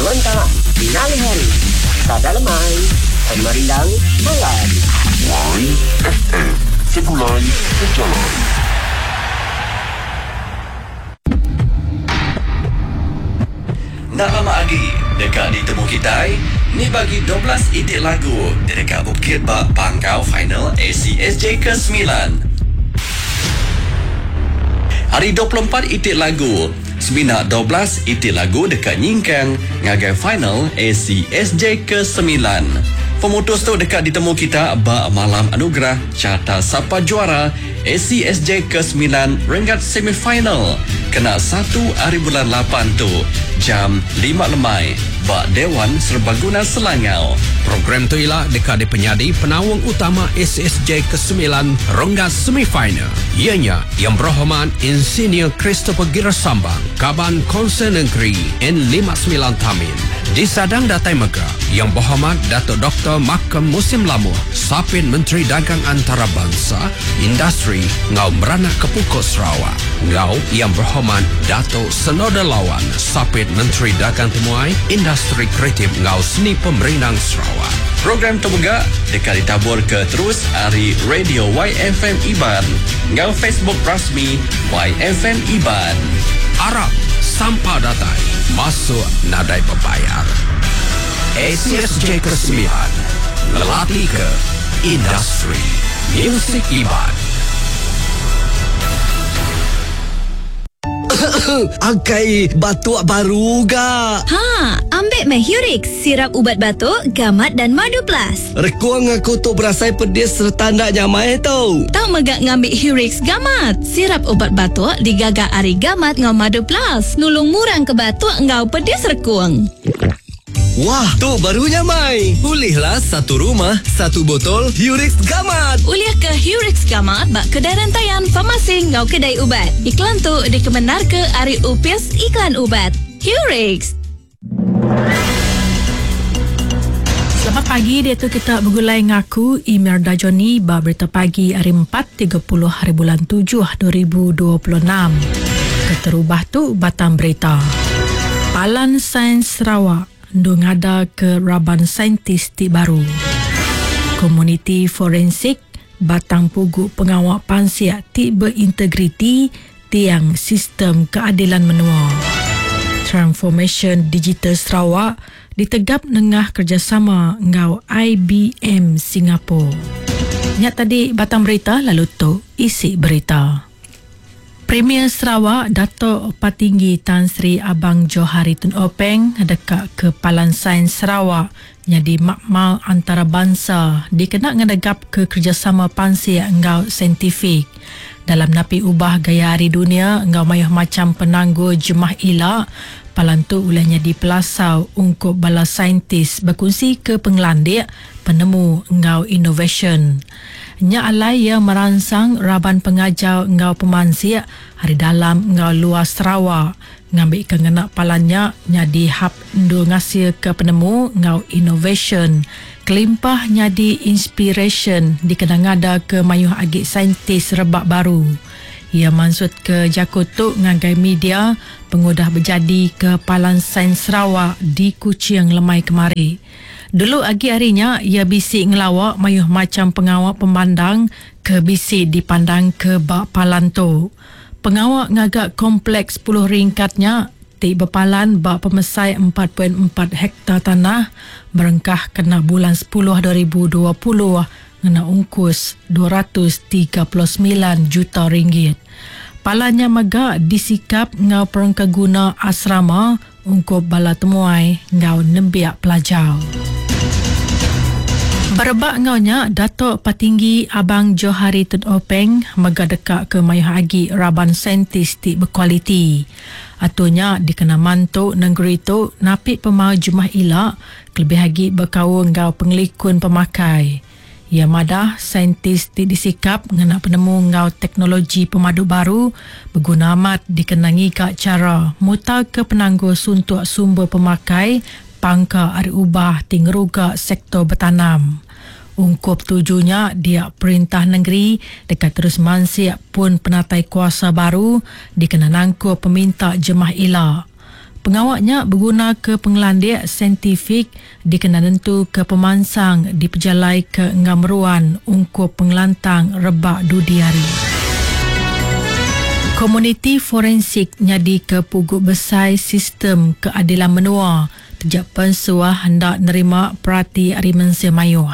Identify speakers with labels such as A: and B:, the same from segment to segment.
A: Nyerentak ngalih hari. Sada lemai. Pemerindang malam.
B: YFM Segulai Sejalai.
C: Enda lama agi deka ditemu kitai ni bagi 12 iti lagu ti deka bukit ba panggau final ACSJ ke semilan. Ari 24 iti lagu, semina 12 iti lagu deka nyingkang ngagai final ACSJ ke semilan. Pemutus tu deka ditemu kita ba Malam Anugerah Carta Sapa Juara ACSJ ke semilan renggat semifinal kena satu ari bulan lapan tu jam lima lemai ba Dewan Serbaguna Selangau.
D: Program tu ila deka dipenyadi penaung utama ACSJ ke semilan renggat semifinal iya nya Yang Berhormat Insinyur Christopher Gira Sambang, Kaban Konsel Negeri N59 Tamin. Disadang datai mega Yang Berhormat Datuk Doktor Malcolm Musim Lamuh, Sapit Menteri Dagang Antarabansa, Industri enggau Meranak ke Pukul Sarawak enggau Yang Berhormat Datuk Senoda Lawan, Sapit Menteri Dagang Temuai, Industri Kreatif enggau Seni Pemerindang Sarawak.
C: Program tu mega deka ditaburka terus ari Radio YFM Iban enggau Facebook rasmi YFM Iban.
D: Arap sampal datai masuk nadai bebayar. ACSJ ke-9 ngelatih ke industri musik Iban.
E: Akai batuk baru ga.
F: Ha, ambil meh Hurix, sirap ubat batuk, gamat dan madu plus.
E: Rekung aku tu berasai pedis serta ndak nyamai tu.
F: Tau mega ngambil Hurix gamat. Sirap ubat batuk digaga ari gamat ngau madu plus. Nulung murang ke batuk ngau pedis rekung.
E: Wah, tu baru nyamai. Ulihlah satu rumah, satu botol Hurix Gamat.
F: Ulih ke Hurix Gamat bak kedai rantaian farmasi ngau kedai ubat. Iklan tu dikemenar ke ari Upis Iklan Ubat. Hurix.
G: Selamat pagi, dia tu kita bergulai ngaku Imelda Johnny ba berita pagi hari 4.30 hari bulan 7 2026. Keterubah tu batang berita. Palan Sains Sarawak ndung ngada ke raban saintis ti baru. Komuniti forensik batang pugu pengawak pansiak ti berintegriti tiang sistem keadilan menua. Transformation Digital Sarawak ditegap nengah kerjasama ngau IBM Singapore. Nya tadi batang berita lalu tu isi berita. Premier Sarawak Dato' Patinggi Tan Sri Abang Johari Tun Openg dekat ke Palan Sains Sarawak jadi makmal antarabangsa dikena ngedegap ke kerjasama pansiak ngau saintifik. Dalam napi ubah gaya hari dunia ngau mayuh macam penangguh jemah ila, palan tu ulahnya di pelasau ungkup bala saintis berkongsi ke pengelandik, penemu ngau innovation. Nya alai ia merangsang raban pengajar ngau pemansiak hari dalam ngau luar Sarawak ngambil ke ngena palannya nyadi hub ndu ngasil ke penemu ngau innovation kelimpah nyadi inspiration dikena ngada ke mayuh agi saintis rebak baru. Ia maksud ke jaku tu ngagai media pengudah berjadi ke Palan Sains Sarawak di Kuching lemai kemari. Dulu agi harinya ia bisi ngelawak mayuh macam pengawak pemandang ke bisi dipandang ke bak palan tu. Pengawak ngagak kompleks 10 ringkatnya ti berpalan bak pemesai 4.4 hektar tanah berengkah kena bulan 10 2020 ngena ungkus 239 juta ringgit. Palannya mega disikap ngau perengka guna asrama ungkup bala temuai ngau nembiak pelajar. Berebak ngaunya Dato' Patinggi Abang Johari Tun Openg mega dekat ke mayuh agi raban saintis ti berkualiti. Atunya dikena mantu negeri tu napi pemau jemah ila kelebih agi berkaul ngau pengelikun pemakai. Ia madah saintis ti disikap ngena penemu ngau teknologi pemadu baru berguna amat dikenangi ka cara mutar ke penangguh suntuk sumber pemakai pangka ari ubah ti ngeruga sektor bertanam. Ungkup tujunya dia perintah negeri dekat terus mansiak pun penatai kuasa baru dikena nangkup peminta jemah ila. Pengawa nya begunaka pengelandik saintifik dikena nentuka pemansang dipejalaika enggau meruan ungkup pengelantang rebak dudi hari. Komuniti forensik nyadika pugu besai sistem keadilan menua taja pen suah enda nerima perati ari mensia mayuh.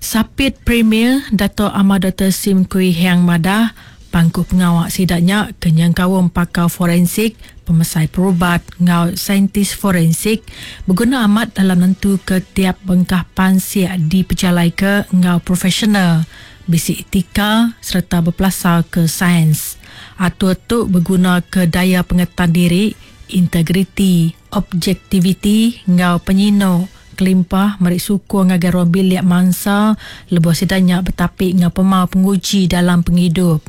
G: Sapit Premier Datuk Amar Doktor Sim Kui Hiang madah, pangku pengawa sida nya ke nyengkaum pakar forensik, pemesai perubat enggau saintis forensik beguna amat dalam nentuka tiap bengkah pansik dipejalaika enggau profesional, bisi etika sereta bepelasarka sains. Atur tu begunaka daya pengetan diri, integriti, objektiviti enggau penyinu kelimpah meri sukung ngagai ruang bilik mansa lebuh sida nya betapi enggau pemau penguji dalam pengidup.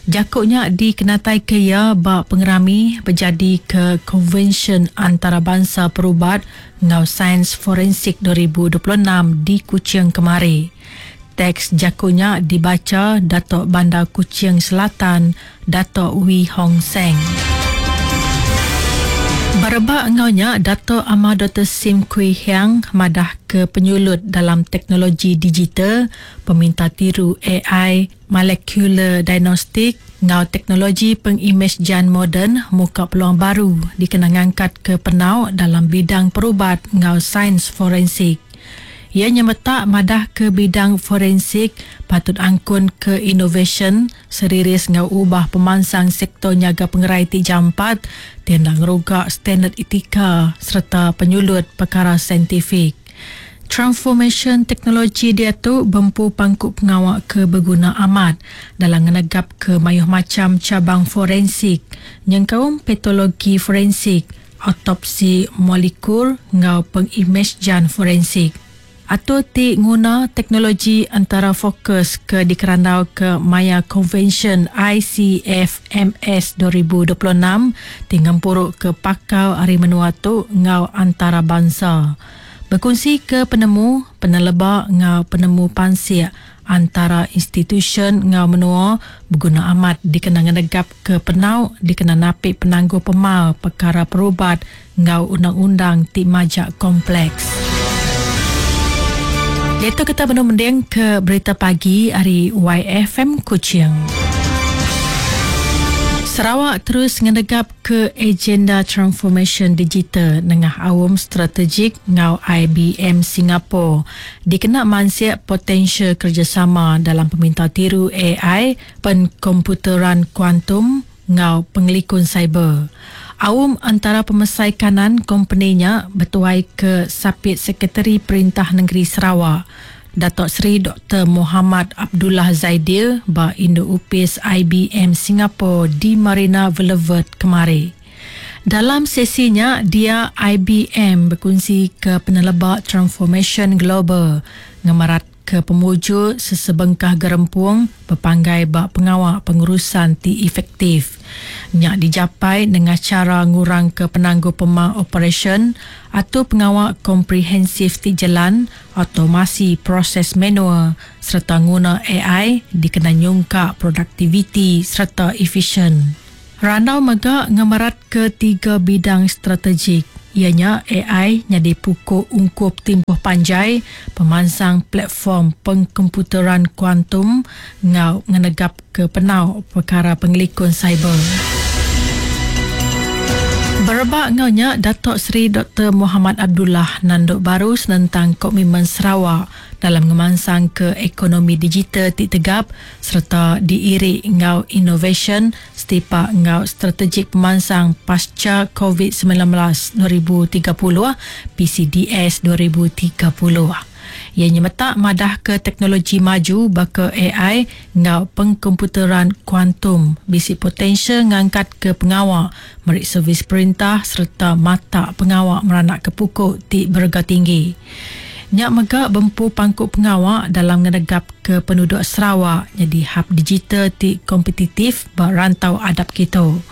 G: Jaku nya dikenataika iya ba pengerami bejadika Konvensyen Antarabansa Perubat enggau Sains Forensik 2026 di Kuching kemari. Teks jaku nya dibacha Datuk Bandar Kuching Selatan, Datuk Wee Hong Seng. Berebak enggau nya, Datuk Amar Doktor Sim Kui Hiang madahka penyulut dalam teknologi digital, peminta tiru ai, molekular diagnostik enggau teknologi pengimejjan moden muka peluang baru dikena ngangkatka penau dalam bidang perubat enggau sains forensik. Iya nyemetak madahka bidang forensik patut angkun ke inovasyen seriris enggau ubah pemansang sektor nyaga pengerai ti jampat ti enda ngeruga standard etika sereta penyulut pekara saintifik. Transformasyen teknologi diatu bempu pangku pengawa ke beguna amat dalam ngenegapka mayuh macham chabang forensik nyengkaum patologi forensik, autopsi molekul enggau pengimejjan forensik. Atur ti nguna teknologi entara fokus ke dikerandauka maya Konvensyen ICFMS 2026 ti ngempuruka pakar ari menua tu enggau antarabansa. Bekunsika penemu, peneleba enggau penemu pansik antara institusyen enggau menua beguna amat dikena ngenegapka penau dikena napi penanggul pemar pekara perubat enggau undang-undang ti majak kompleks. Diatu kita benung mendingka berita pagi ari YFM Kuching. Sarawak terus ngenegapka agenda transformasyen digital nengah aum strategik enggau IBM Singapore dikena mansik potensial kerejasama dalam peminta tiru ai, penkomputeran kuantum enggau pengelikun siber. Aum antara pemesai kanan kompeni nya betuai ke Sapit Sekretari Perintah Nengeri Sarawak, Datuk Seri Doktor Muhammad Abdullah Zaidil ba Indu Opis IBM Singapore di Marina Boulevard kemari. Dalam sesi nya, dia IBM bekunsika peneleba transformasyen global ngemeratka pemujur sesebengkah gerempung bepanggai ba pengawa pengurusan ti efektif. Nya dijapai nengah chara ngurangka penanggul pemar operasyen, atur pengawa komprehensif ti jelan, automasi proses manual sereta nguna ai dikena nyungkak produktiviti sereta efisyen. Randau mega ngemeratka tiga bidang strategik, iya nya ai nyadi puku ungkup timpuh panjai, pemansang platform pengkomputeran kuantum enggau ngenegapka penau pekara pengelikun siber. Berebak enggau nya, Datuk Seri Doktor Muhammad Abdullah nandu baru senentang komitmen Sarawak dalam ngemansangka ekonomi digital ti tegap sereta diiri enggau inovasyen setipak enggau Strategik Pemansang Pasca Covid-19 2030, PCDS 2030. Iya nyemetak madahka teknologi maju baka ai enggau pengkomputeran kuantum bisi potensial ngangkatka pengawa meri servis perintah sereta matak pengawa meranakka puku ti berega tinggi. Nya mega bempu pangku pengawa dalam ngenegapka penuduk Sarawak nyadi hub digital ti kompetitif ba rantau adap kitu.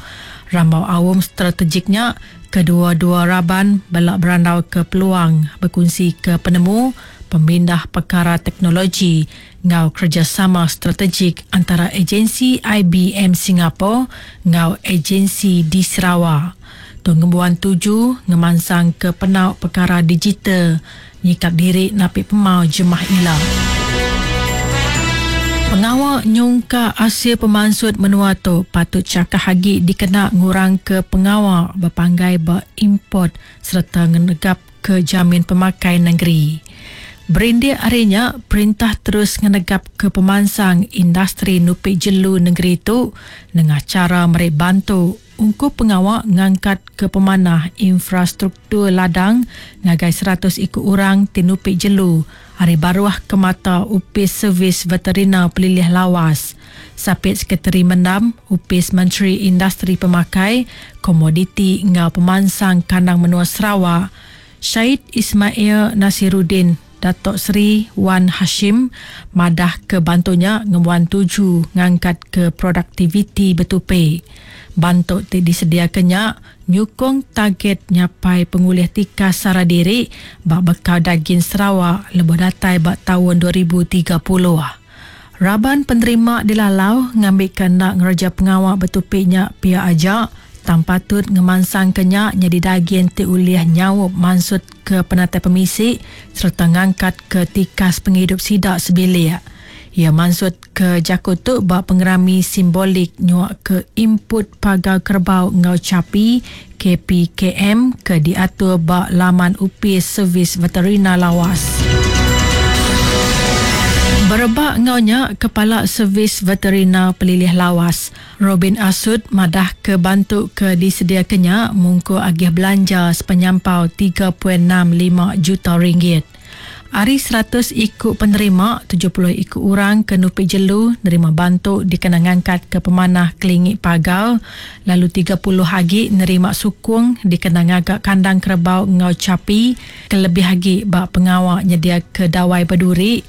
G: Rambau aum strategik nya, kedua-dua raban bela berandauka peluang bekunsika penemu, pemindah pekara teknologi enggau kerejasama strategik antara agensi IBM Singapore enggau agensi di Sarawak. Tu ngembuan tuju ngemansangka penau pekara digital nyikap diri napi pemau jemah ila. Pengawa nyungkak asil pemansut menua tu patut chakah agi dikena ngurangka pengawa bepanggai ba import sereta ngenegapka jamin pemakai nengeri. Berindik ari nya, perintah terus ngenegapka pemansang industri nupi jelu nengeri tu nengah chara meri bantu ungkup pengawa ngangkatka pemanah infrastruktur ladang ngagai 100 iku orang ti nupi jelu ari baruh kemata Opis Servis Veterinar Pelilih Lawas. Sapit Sekretari Mendam Opis Menteri Industri Pemakai, Komoditi enggau Pemansang Kandang Menua Sarawak, Syed Ismail Nasiruddin Dato Sri Wan Hashim madahka bantu nya ngembuan tuju ngangkatka produktiviti betupi. Bantu ti disediaka nya nyukung target nyapai pengulih tikas sara diri ba bekal dagin Sarawak lebuh datai ba taun 2030. Raban penerima dilalau ngambika enda ngereja pengawa betupi nya pia aja tang patut ngemansangka nya nyadi dagin ti ulih nyaup mansutka penatai pemisi sereta ngangkatka tikas pengidup sida sebilik. Iya mansutka jaku tu ba pengerami simbolik nyuaka input pagar kerebau enggau chapi KPKM ke diatur ba laman Opis Servis Veterinar Lawas. Berebak enggau nya, Kepala Servis Veterinar Pelilih Lawas, Robin Asut madahka bantu ke disediaka nya mungkur agih belanja sepenyampau 3.65 juta ringgit. Ari 100 iku penerima, 70 iku orang ke nupi jelu nerima bantu dikena ngangkatka pemanah kelingi pagar, lalu 30 agi nerima sukung dikena ngaga kandang kerebau enggau chapi kelebih agi ba pengawa nyediaka dawai beduri,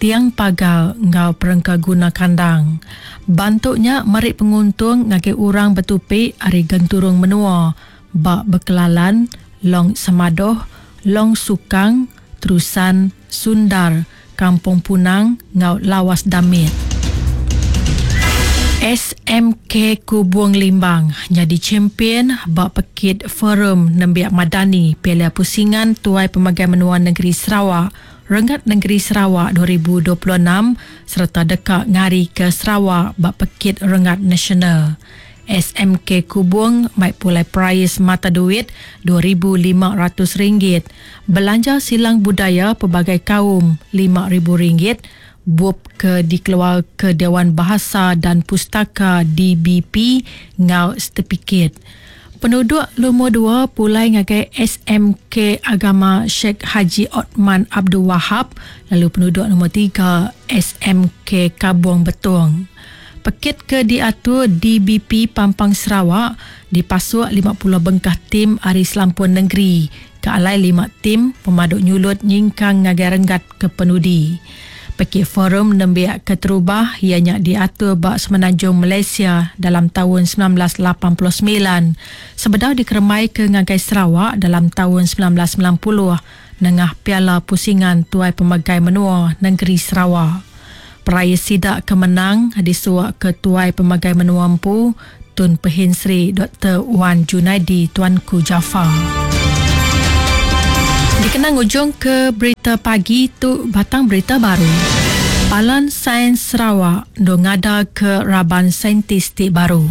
G: tiang pagar enggau perengka guna kandang. Bantu nya meri penguntung ngagai orang betupi ari genturung menua ba Bekelalan, Long Semadoh, Long Sukang, Terusan, Sundar, Kampung Punang enggau Lawas Damit. SMK Kubung Limbang nyadi champion ba pekit Forum Nembiak Madani Piala Pusingan Tuai Pemagai Menua Negeri Sarawak Renggat Nengeri Sarawak 2026 sereta deka ngarika Sarawak ba pekit renggat nasional. SMK Kubung mai pulai perais mata duit RM2,500, belanja silang budaya pelbagai kaum RM5,000, bup ke dikeluar ke Dewan Bahasa dan Pustaka DBP enggau setipikit. Penuduk lumur 2 pulai ngagai SMK Agama Sheikh Haji Othman Abdul Wahab, lalu penuduk nombor 3 SMK Kabong Betong. Pekit ke diatur DBP Pampang Sarawak dipasuk 50 bengkah tim ari selampur negeri ke alai 5 tim pemaduk nyulut nyingkang ngagai renggat ke penudi. Pekit forum nembiak keterubah iya nya diatur ba Semenanjung Malaysia dalam taun 1989 sebedau dikerembai ke ngagai Sarawak dalam taun 1990 nengah Piala Pusingan Tuai Pemegai Menua Negeri Sarawak. Perais sida ke menang disuak ke Tuai Pemegai Menua Empu Tun Pehin Sri Dr. Wan Junaidi Tuanku Jaafar. Dikenang ujung ke berita pagi tu batang berita baru. Palan Sains Sarawak ndo ngada ke raban saintis ti baru.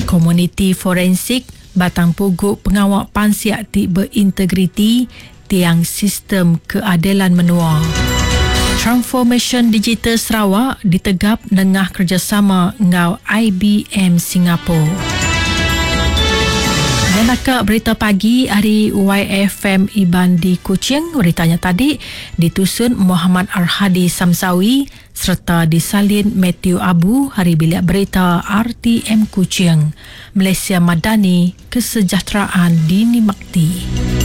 G: Komuniti forensik batang pugu pengawa pansiak ti berintegriti tiang sistem keadilan menua. Transformation Digital Sarawak ditegap nengah kerjasama enggau IBM Singapore. Dan akak berita pagi hari YFM Iban di Kuching. Beritanya tadi ditusun Muhammad Arhadi Samsawi serta disalin Matthew Abu hari bilik berita RTM Kuching. Malaysia Madani, kesejahteraan dinikmati.